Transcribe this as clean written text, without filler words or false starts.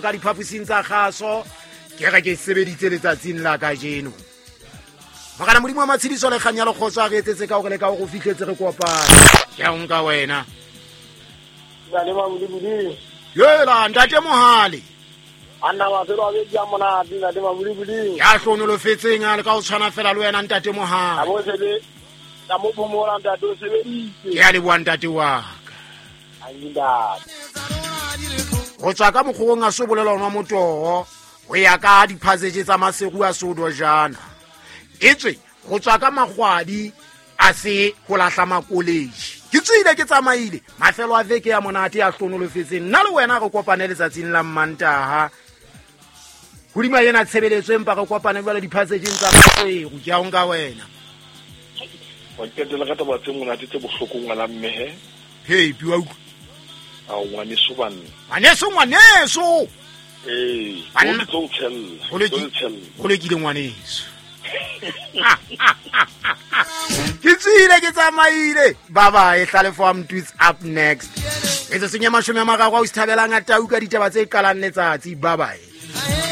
Ka diphaposing tsa kgaso ke re ke sebeditse letsatsing la kajeno. Morena Modimo wa matshediso le kganya le kgotso a re etsetse ka hore le ka hore o fihletse re kopane. Ke a o nka wena. Ntate Mabulibuli. Yela ntate Mohale. Anna mafelo a beke a monate ntate Mabulibuli. Ya hlonolofetseng a le ka o tshwana fela le wena ntate Mohale. A bo sebe ka mo phomola ntate o sebeditse. Ke a leboha ntate wa ka. Angi ntate. Go tswa ka mokgogong a se bolela onwa motogo go ya ka diphaseje tsa maseru a se jana. Etswe go tswa ka magwadi a se go lahla makoleji. Ke tswile ke tsamaile mafelo a veke ya monate ya hlonolofetseng nna le wena re kopane letsatsing la Mmantaha. Hodima ena tshebeletso empa re kopane jwale diphasejeng tsa maseru. Ke a o nka wena. Wa qetela ka taba tse monate tse bohloko ngwana mme he. Hey, piwa utlwa. Ao ngwaneso banna. Ngwaneso, ngwaneso. Ee, Banna. o tlo o tshella, Go tlo o tshella. Go lekile ngwaneso. Ke tswile ke tsamaile. Bye bye, Hlalefo wa Mtutsi up next. Metsotsong ya 30 a o se thabelang a tau ka ditaba tse qalang letsatsi. Bye bye.